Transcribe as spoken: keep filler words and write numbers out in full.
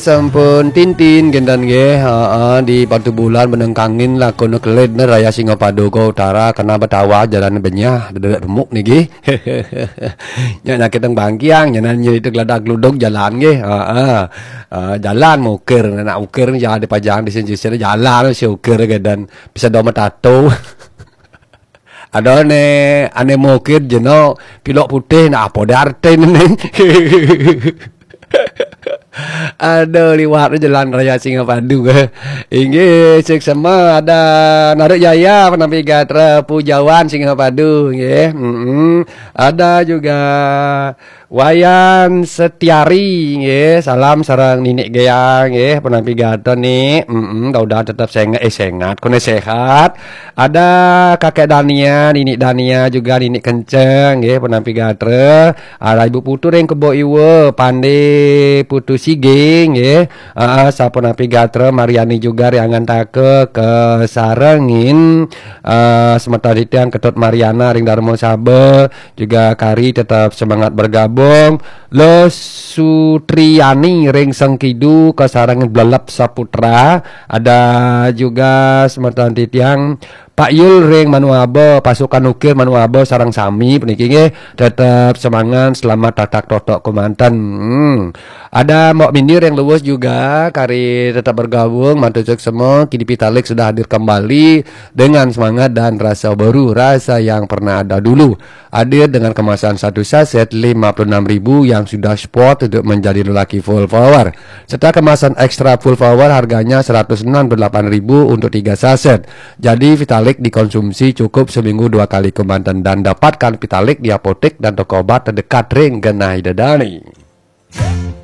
Sampun tintin gendan nggih, heeh, di Batu Bulan menengkangin lah kono kelid ne Raya Singapadu ke utara kena betawa jalan benyah, dedet remuk niki. Nyak nyakit teng bangkiang, nyanan nyi itu geladak geluduk jalan nggih, heeh. Eh, jalan mukir, nak ukir ni jadi pajang di sini, sini jalan si ukir gendan bisa doma tato. Ada ne, ane mukir jeno, pilok putih, nak apa dia arti ne? Ada liwat jalan Raya Singapadu. Inggih, seksama ada Naruk Jaya, penampi gatra Pujawan Singapadu, nggih. Mm-mm. Ada juga Wayan Setiari, nggih. Salam sareng Ninik Geyang, nggih. Penampi gatra ni, mm-mm, udah tetap sengat, eh, sengat, kone sehat. Ada Kakek Dania, Ninik Dania juga, Ninik Kenceng, nggih, penampi gatra. Ada Ibu Putu ring Kebo Iwa, Pande Putu Sige, nggih. Ah, sapunapi gatra Mariani juga ring Angantaka kesarengin, ah, semeton titiang Ketut Mariana ring Darma Saba, juga Kari tetap semangat bergabung. Lo Sutriani ring Sengkidu kesarengin Blelep Saputra, ada juga semeton titiang Pak Yul ring Manuaba, pasukan ukir Manuaba sareng sami puniki nggih, tetap semangat, selamat tatak totok kemanten. Hmm. Ada Mbok Mindi ring Luwus juga, kari tetap bergabung, matur suksma, kini Pitalik sudah hadir kembali dengan semangat dan rasa baru, rasa yang pernah ada dulu. Hadir dengan kemasan satu saset lima puluh enam ribu yang sudah spot untuk menjadi lelaki full power. Serta kemasan ekstra full power harganya seratus enam puluh delapan ribu untuk tiga saset. Jadi Vitalik dikonsumsi cukup seminggu dua kali kemanten dan dapatkan Vitalik di apotek dan toko obat terdekat ring genah Ida Dani.